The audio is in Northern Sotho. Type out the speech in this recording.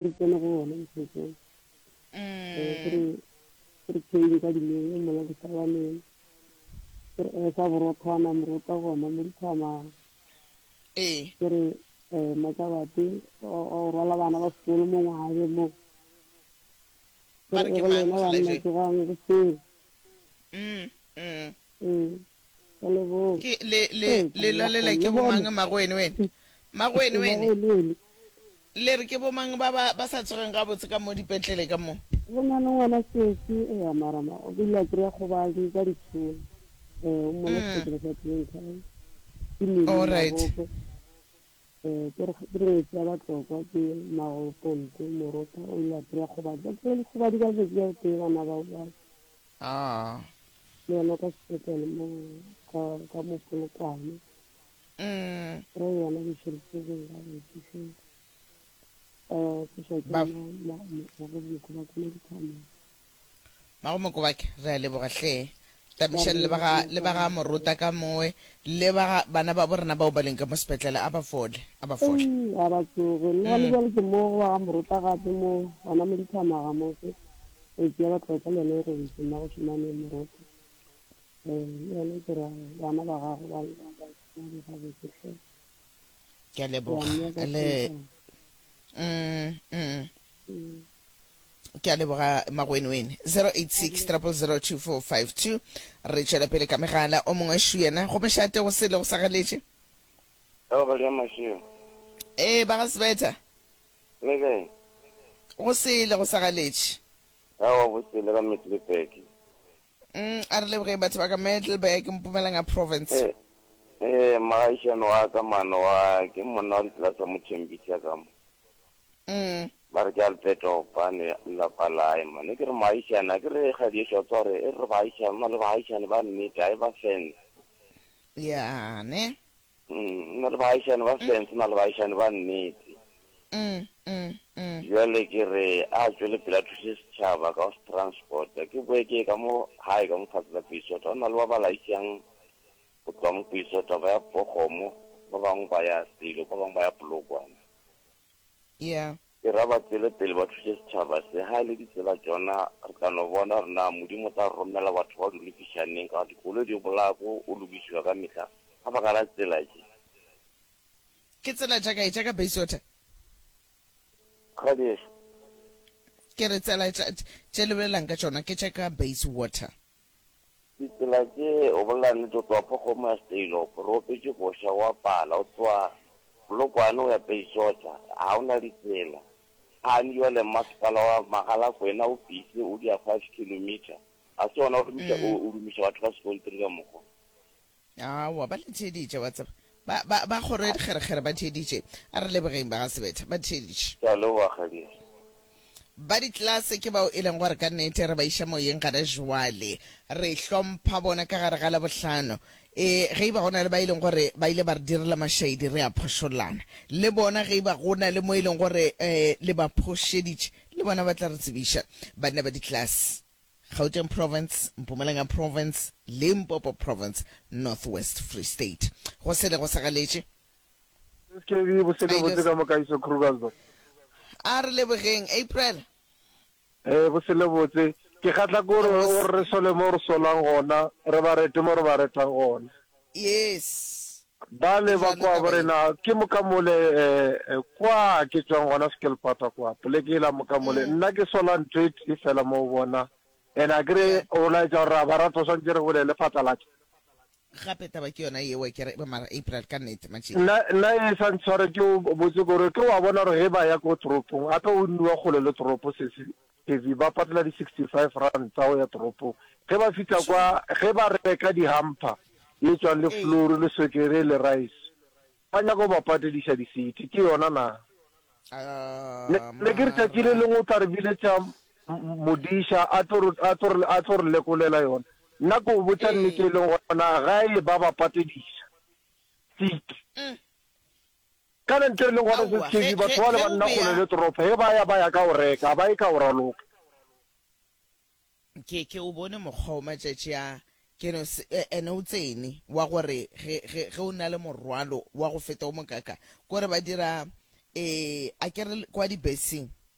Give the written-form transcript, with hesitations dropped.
Re tsene go ona mokgotsong. Eh, ke re ke re chain ka dineng mola disabaneng. Ke re eh, sa borothwana morota gona mo dithama. Ee. Ke re eh Matsabate o o rwala bana ba sekolo mo ngwabe mo. Ke Ba re re ke go mang lena banna mokgalabje? tsogang goseng. Mm, mm. Ee. Ke leboga. Ke le le Ee, le banna lalela kgong ke lehono. bomang magwene wene? Magwene wene. Magwene. Le re ke bomang ba ba ba sa tsogeng gabotse ka mo dipetlele ka mo? Go na le ngwana sesi, eya mara ma o ile a kry-a kgobadi ka ditšholo. Eh, o mola sepetlele sa Glencoe. Ke Mimi All right. Magope. Eh, ke re ke re ngwetsi ya Batlokwa ke Mmago Ponto Morota o ile a kry-a kgobadi. Ba kry-a dikgobadi ka letšatši la tee bana bao ba. Ah. Le yena ka sepetlele mo ka ka mo Polokwane. Mm. Re yona ke šoritse gabotse hle. Eh, ke šwa ke Ba nna ma ma ma go ba ke dithameng. Mago Mokobake, re a leboga hle. Ba re Tamišang le ba ga leboga le ba ga Morota ka mowe le ba ga bana ba bo rena bao ba leng ka mo sepetlele a ba fole, a ba fole. Ei, a ba tsoge. Nna le Mm. bjale ke mo go ba ga Morota gape mo gona mo dithamaga mo ke. E tšea Batlokwa le yena e robetše mmago Šomane Morota. Eh, le yena ke ra bana ba gagwe ba ba ba ba gabotse hle. Ke a Ke a leboga. mmea ka Le tlhompho. mm, mm. Mm. Ke a leboga Magwenwene. 086 000 2452. Re tšwela pele ka megala. O mongwe šu yena go mošate go sele go sa galetše. Ao ba ja mašego. Ee, ba ga Sebetha. Le kae? Go sele go sa galetše. Aowa go sele ka Middelburg. Mm, a re lebogeng batho ba ka Middelburg, Mpumalanga Province. Eh, eh, mogaishane wa ka mano wa ke monna wa ditlelase mo Thembisa ka mo. Mm. Ba re ke Alberto Opane lapa lae mane ke re moaishane a ke re kgadi ešo tsa gore e re baaishane na le baaishane ba nnete a e ba fence. Ya ne. Mm, na le baagišane ba fence, na le baagišane ba nnete. Mm, mm, mm. Bjale ke re a tšwele pele a thuse setšhaba ka go se transporta. Ke boe ke ye ka mo gae ka mo fatshe la Peisota, go na le ba ba laišang go tloga mo Peisota ba ya Pogomo, ba bangwe ba ya Selo, ba bangwe ba ya Polokwane. Yeah. Ke ra ba tšwele pele ba thuse setšhaba se. Ha e le ditsela tšona, re tla no bona gore na Modimo o tla re romela batho ba di lokiša neng, ka gore dikoloi di bolaya ko o lokišiwa ka mehla ka baka la tsela tše. Ke tsela tša kae? Tša ka Bayswater? Kgadi ešo. Ke re tsela tša, tše le bolelang ka tšona ke tša ka Bayswater. Ditsela tše, o bolela nnete, o tloga Phokgomo ya Steilop, re opetše koša, o a pala, o tloga Polokwane o ya Peisotha, ga o na ditsela. Gane bjale mmasepala wa Mogalakwena o busy o dia five kilometre, ga se gona o dumiša, o, o dumiša batho ka sekontiri ka mokgwa. Aowa, ba le theeditše, wa tseba. Ba, ba, ba kgoro ya dikgerekgere ba theeditše. A re lebogeng ba ga Sebetha, ba theeditše. Ke a leboga, kgadiešo. Ba ditlelase ke bao e leng gore ka nnete re ba iša moyeng gana jwale. Re hlompha bona ka gare ga Labohlano. E, ge e ba go na le ba e leng gore ba ile ba re direla mašaedi, re a phošollana le bona. Ge e ba go na le mo e leng gore um le ba phošeditše, le bona ba tla re tsebiša. Banna ba ditlelase, Gauteng Province, Mpumalanga Province, Limpopo Province, North West, Free State. Go sele go sa galetše. SKB, bosele botse ka mo Kaiso Krugersdorp. A re lebogeng, April. Ee, bosele botse. Ke kgahla ke gore o re re sole mo re solang gona, re ba rete mo re ba retang gona. Yes. Bale ba kwa bo rena, ke moka mole eh, kwa ke tšwang gona Skelpata kwa, poleke yela moka mole. Nna ke sola ntho e tee fela mo go bona, and akere o laetša gore ra ba rata, swantše re bolele phatlalatša. Gape taba ke yona yeo ke re mara April ka nnete matšhedi. Nna nna e sa ntshware ke o botse kore ke wa bona gore ge ba ya ko toropong gape o nniwa kgole le toropo sesi Kevy ba patela di 65 rand tsa go ya toropong ge ba fihla kwa ge ba reka di hamper ye tšwang le flour le swekere le rice Ba nyaka go ba patediša disete, ke yona na? Ne, ne ke re tšatši le lengwe o tla re biletša modiša a tlo re, a tlo re, a tlo re lekolela yona. Nna ke o botša nnete e leng gona, ga e ba ba patediša seat. Kana ntho e leng gona se Aowa, ge, sekhebi, batho ge, bale ge ba o nna kgole bea le toropo, ge ba ya ba ya ka go reka, ga ba ye ka go raloka. Ke, ke o bone mokgwa o matšatši a, ke no se, e, ene o tsene, wa gore ge, ge, ge o na le morwalo wa go feta o mokaka, kore ba dira, e, a ke re kwa dibeseng.